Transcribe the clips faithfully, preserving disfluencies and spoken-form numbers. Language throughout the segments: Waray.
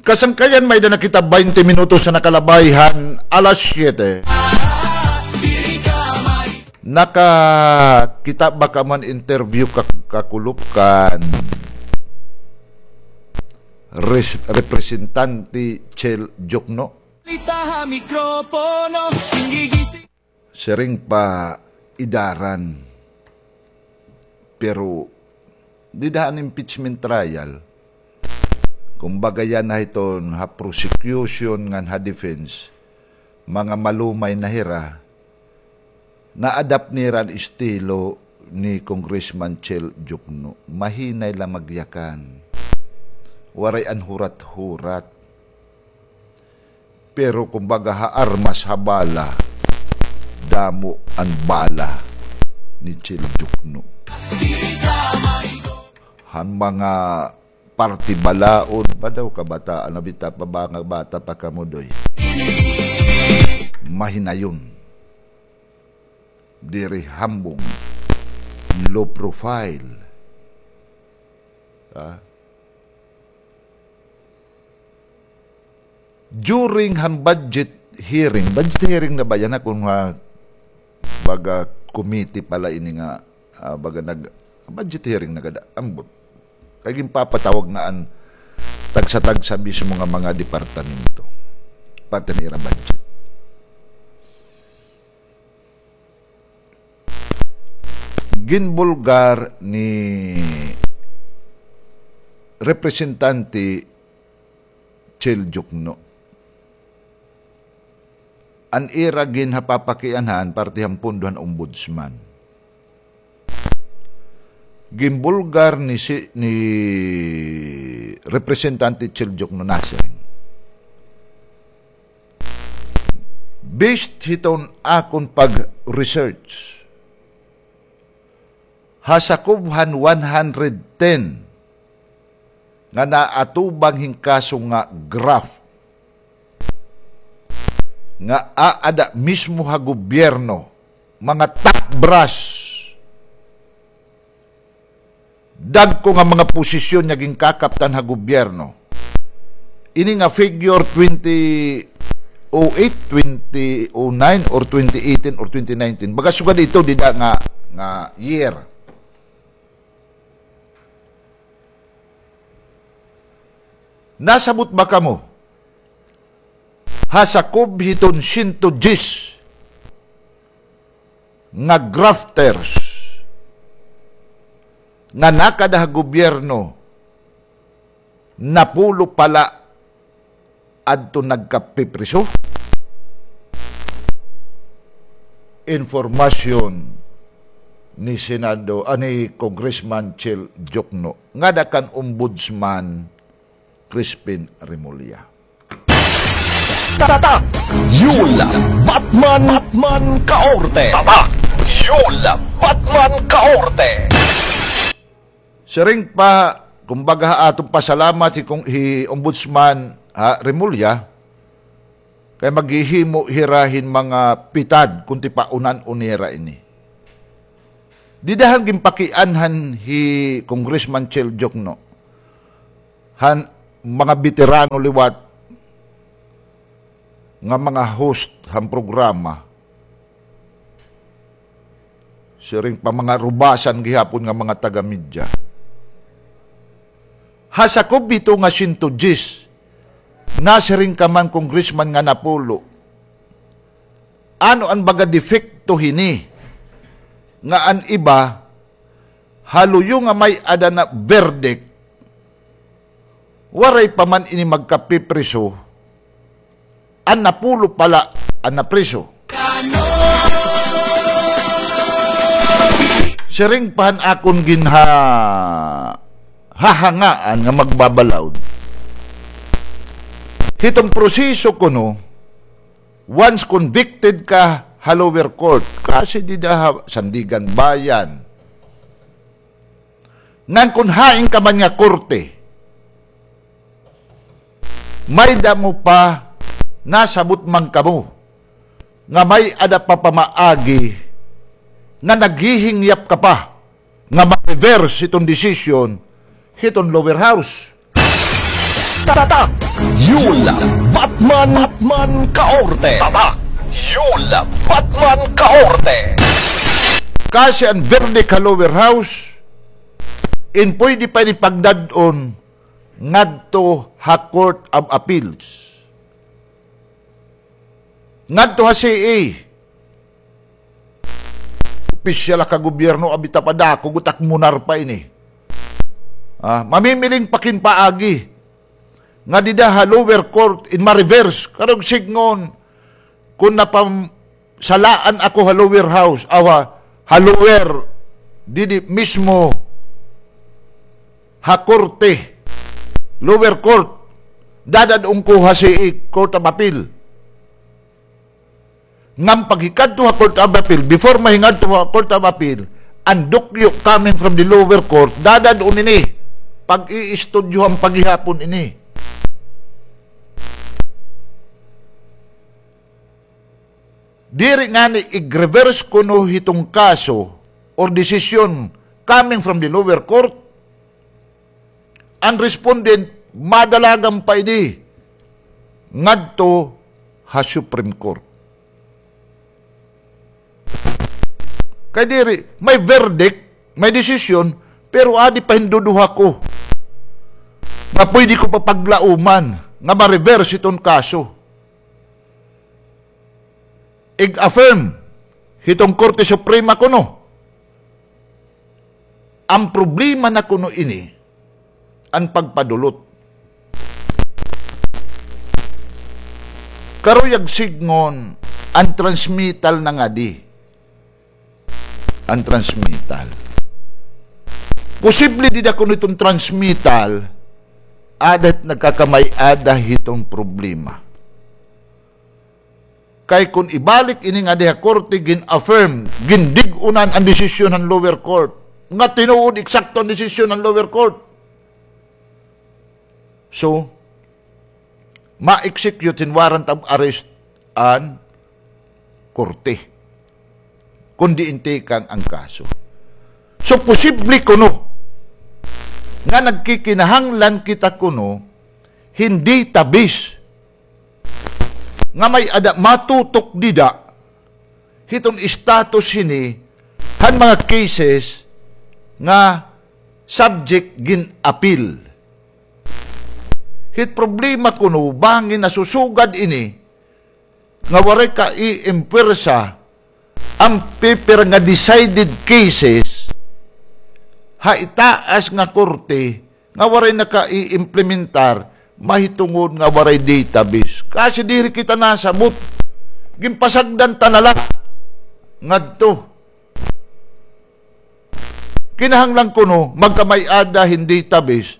Kasangkayan, may-ada na kita baynte minutos na nakalabay han alas siyete. Nakakita ba kamo han interview ka-, kakulop kan res-, Representante Chel Diokno? Siring pa idaran. Pero dida han impeachment trial, kumbaga, yana hiton ha prosecution ngan ha defense, mga malumay na hira, na-adapt nira an estilo ni Congressman Chel Diokno. Mahinay la magyakan. Waray an hurat-hurat. Pero kumbaga, ha armas, ha bala, damo an bala ni Chel Diokno. Han mga parte balaod pa daw, kabataan, nabita pa ba nga bata pa kamo, Doy? Mahinayon. Diri hambong. Low profile. Ha? During han budget hearing, budget hearing na ba yana, kon ha, baga, committee pala ini nga, ah, baga nag-, budget hearing na gad ambot. Kay ginpapatawag na an tagsa-tagsa mismo nga mga departamento. Parte han ira budget. Ginbulgar ni Representante Chel Diokno an ira ginhapapakianhan parte han pondo han ombudsman. Ginbulgar ni si, ni Representante Chel Diokno, nasiring, based hiton akon pag-research, ha sakob han one hundred ten nga naatubang hin kaso nga graft, nga aada mismo ha gobyerno, mga top brass, dagko nga mga posisyon nga ginkakaptan ha gobyerno. Ini nga figure twenty oh eight, twenty oh nine, or twenty eighteen, or twenty nineteen. Baga sugad ito dida nga, nga year. Nasabot ba kamo? Ha sakob hiton siyento dyes nga grafters nga nakada ha gobyerno, napulo pa la adto nagkapipriso. Informasyon ni Senado, ah, ni Congressman Chel Diokno, ngada kan Ombudsman Crispin Remulla. Tatak! Yul Batman, Batman Kaorte! Tatak! Yul Batman Kaorte! Siring pa, kumbaga, ha aton pasalamat hi Kong-, hi Ombudsman, ha, Remulla, kay maghihimo hira hin mga pitad kon tipaunan-on nira ini. Dida han ginpakianhan hi Congressman Chel Diokno han mga beterano liwat nga mga host han programa. Siring pa mga rubasan gihapon nga mga taga-media. Ha sakob hito nga siyento dyes, nasiring ka man, Congressman, nga napulo. Ano an baga depekto hini nga an iba ha luyo nga may-ada na verdict, waray pa man ini magkapipriso, an napulo pa la an napriso. Siring pa han akon ginha-, hahangaan nga magbabalaod. Hiton proseso kuno, once convicted ka ha lower court, kasi dida ha Sandiganbayan, ngan kon hain ka man nga korte, may-ada mo pa, nasabot man kamo nga may-ada pa pamaagi nga naghihingyap ka pa nga ma-reverse hiton desisyon hiton lower house. Tatak Yul Batman, Batman Kaorte. Tatak Yul Batman Kaorte. Kasi an verdict ha lower house, in pwede pa ini pagdad-on ngadto ha Court of Appeals. Ngadto ha C A. Opisyal ha kagobyerno, abi ta pa dako, gutak munar pa ini. Ah, mamimiling pa kin paagi nga dida ha lower court in ma-reverse. Karuyag sidngon, kun napam-, salaan ako ha lower house, aw ha, ha lower, didi mismo, ha korte, lower court, dadad-on ko ha C A, Court of Appeal. Ngan paghikadto ha Court of Appeal, before mahingadto ha Court of Appeal, an dokyo coming from the lower court, dadad-on ini, pag-iistudyohan pa gihapon ini. Diri ngani ig-reverse kuno hiton kaso or desisyon coming from the lower court, an respondent madalagan pa ini ngadto ha Supreme Court. Kay diri, may verdict, may desisyon, pero adi pa hin duduha ko nga pwede ko pa paglauman nga ma-reverse hiton kaso. Ig-affirm hiton Korte Suprema kuno. An problema na kuno ini, an pagpadulot. Karuyag sidngon, an transmittal na ngadi. An transmittal. Posible dida kuno iton transmittal, ada nagkakamay-ada hiton problema. Kay kun ibalik ini ngadi ha korte, gin-affirm, gindig-unan an desisyon han lower court. Nga tinuod, eksakto an desisyon han lower court. So, ma-execute hin warrant of arrest an korte. Kun diin tikang an kaso. So, posible kuno nga nagkikinahanglan kita kuno hin database nga may-ada matutok dida hiton status hini han mga cases nga subject gin-appeal. Hit problema kuno, bangin nasusugad ini nga waray kaiimpuwersa an pipira nga decided cases ha itaas nga korte nga waray nakaiimplementar, mahitungod nga waray database. Kasi diri kita nasabot. Ginpasagdan ta na la ngadto. Kinahanglan kuno magkamay-ada hin database,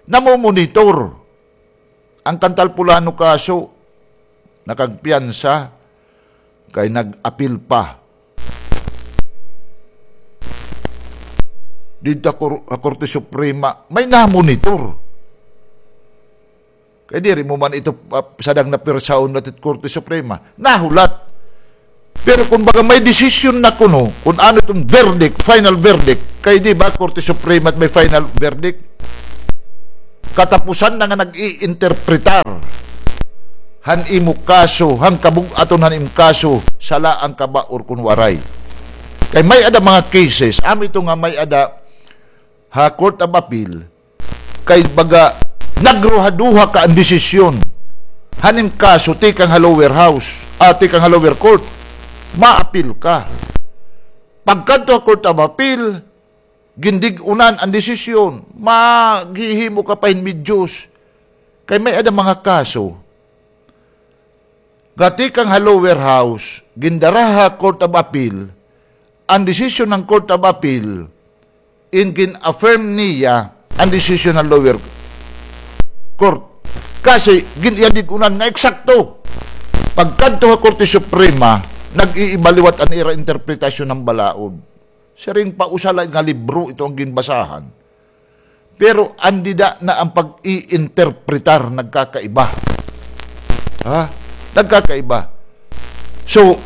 namomonitor. An Cantalpulano kaso, nakagpiyansa, kay nag-apil pa. Didto ha Kor-, ha Korte Suprema, may namonitor. Kay diri mo man ito, ah, sadang napirsahon na tit Korte Suprema. Nahulat. Pero kun baga may desisyon na kuno, kun ano iton verdict, final verdict, kay di ba Korte Suprema it may final verdict? Katapusan na nga nag-iinterpretar han imo kaso, han kabug-aton han imo kaso, sala an kaba or kun waray. Kay may-ada mga cases, amo ito nga may-ada ha Court of Appeal, kay baga nagruhaduha ka an desisyon han im kaso tikang ha lower house, ah, tikang ha lower court, maapil ka. Pagkadto ha Court of Appeal, gindig-unan an desisyon, maghihimo ka pa hin medyos. Kay may-ada mga kaso nga tikang ha lower house, gindara ha Court of Appeal, an desisyon han Court of Appeal, in gin-affirm niya an desisyon han lower court. Kasi gin-, iya dig-unan nga eksakto. Pagkadto ha Korte Suprema, nag-iiba liwat an ira interpretasyon han balaod. Siring pa usa la nga libro ito an ginbasahan. Pero an dida na an pag-iinterpretar nagkakaiba. Ha? Nagkakaiba. So,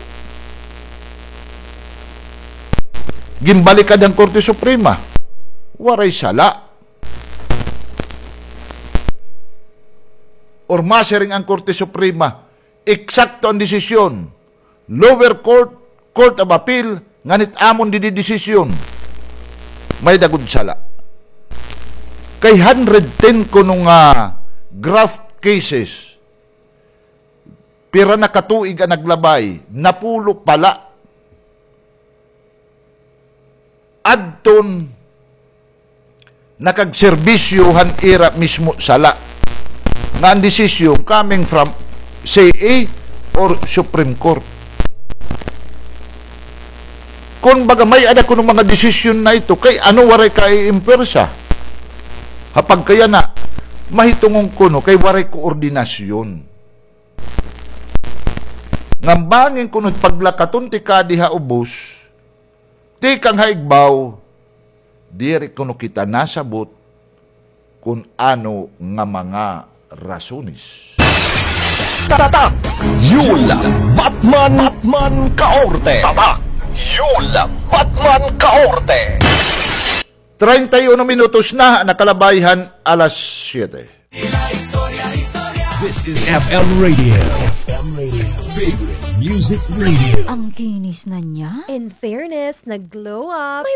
ginbalikad han Korte Suprema. Waray sala. or masiring an Korte Suprema, eksakto an desisyon. Lower court, Court of Appeal, ngan it amon didi desisyon, may-ada gud sala. Kay hundred ten kuno nga graft cases, pira na ka tuig an naglabay, napulo pa la. Adton nakagserbisyo han ira mismo sala nga an desisyon coming from C A or Supreme Court. Kon baga may-ada kuno mga desisyon na ito, kay ano waray ka iimpwersa? Ha pagkayana, mahitungon kuno kay waray koordinasyon. Ngan bangin kuno paglakaton ti kadi ha ubos, tikang ha igbaw, diri kuno kita nasabot kon ano nga mga rasones. Tatak Yul Batman, Batman Kaorte. Tatak Yul Batman Kaorte. Treinta y uno minutos na nakalabay han alas siyete. This is F M Radio. F M Radio. Favorite Music Radio. Ang kinis na niya. In fairness, nag-glow up. May